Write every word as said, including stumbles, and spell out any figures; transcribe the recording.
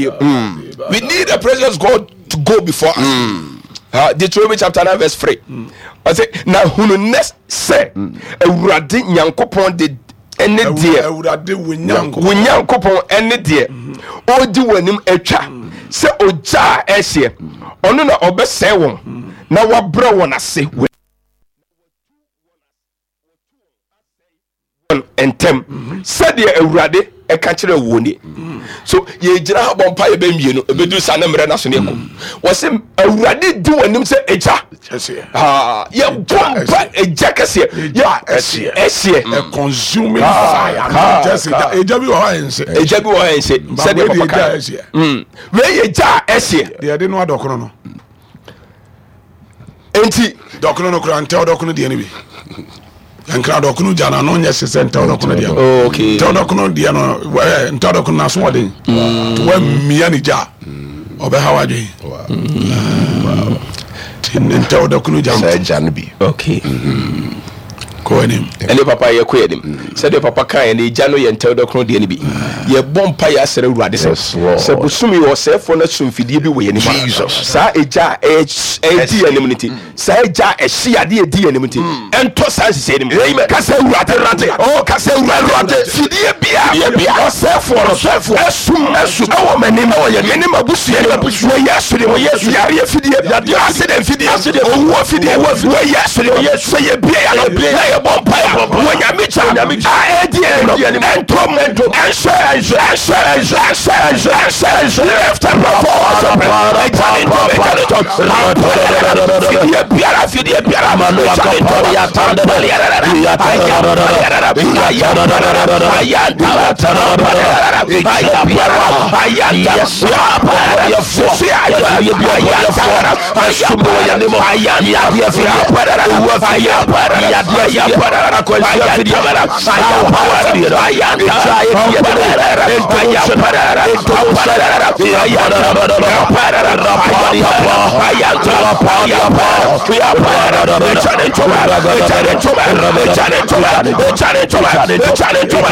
We need the presence of God to go before us. Mm. Uh, Deuteronomy chapter nine verse three. Ɔsɛ na hunu nnɛ sɛ Awurade Nyankopɔn de ɛne deɛ Awurade wo wo Nyankopɔn ɛne deɛ ɔredi w'anim atwa sɛ ogya a ɛhyeɛ, ɔno na ɔbɛsɛe wɔn na wabrɛ wɔn ase wɔn ntɛm sɛdeɛ Awurade ɛka kyerɛ wɔn nie. So yɛgyina ha bɔ mpa yɛ bɛ mmienu ɛbɛduru saa ne mmerɛ no so ne ɛkɔ wɔsɛ Awurade di wɔn anim sɛ egya, yɛbɔ mpa egya kɛseɛ, ɛhyeɛ ɛhyeɛ consuming fire. Egya bi wɔ hɔ a ɛnhye, egya bi wɔ hɔ a ɛnhye, sɛdeɛ papa ka wei yɛ gya a ɛhyeɛ. Deɛ ɛde no adɔkono no nti dɔkono no kora ntɛw dɔkono deɛ no bi nkra dɔkono gya no ano nyɛ hye sɛ ntɛw dɔkono deɛ no. Ntɛw dɔkono deɛ no, ntɛw dɔkono no aso ɔden nti woamia ne gya ɔbɛha w'adwen. Nti ntɛw dɔkono gya saa gya no bi. Okay, kɔ anim. Ɛne papa yɛkɔ yɛ anim sɛdeɛ papa ka yɛ no, egya no yɛ ntɛw dɔkono deɛ no bi. Yɛbɔ mpa yɛ asrɛ Awurade sɛ sɛ bosom yi ɔsɛefoɔ no aso mfidie bi wɔ yɛn anim a, saa egya a ɛdi yɛn anim no nti, saa egya a ɛhye adeɛ ɛdi yɛn anim nti, ɛntɔ saa nhyehyɛ no mu. Kasa Awurade, oh, kasa Awurade, fidie bia ɔsɛefoɔ no ɛsum ɛsum ɛwɔ m'anim, ɛne m'abusua no, wɔ Yesu de, wɔ Yesu, yareɛ fidie, accident fidie, owuo fidie, wɔ Yesu de, sɛ yɛbie yɛ no na yɛbɔ mpa yɛ wɔ Nyame gya a ɛdi yɛn no, ɛntom, ɛnhyɛ, ɛnhyɛ, ɛnhyɛ, ɛnhyɛ, ɛnhyɛ, ɛnhyɛ. Lift up your voice, ɛgya ne ntɔm, ɛgya ne ntɔm, fidie biara, fidie biara, ɛgya ne ntɔm,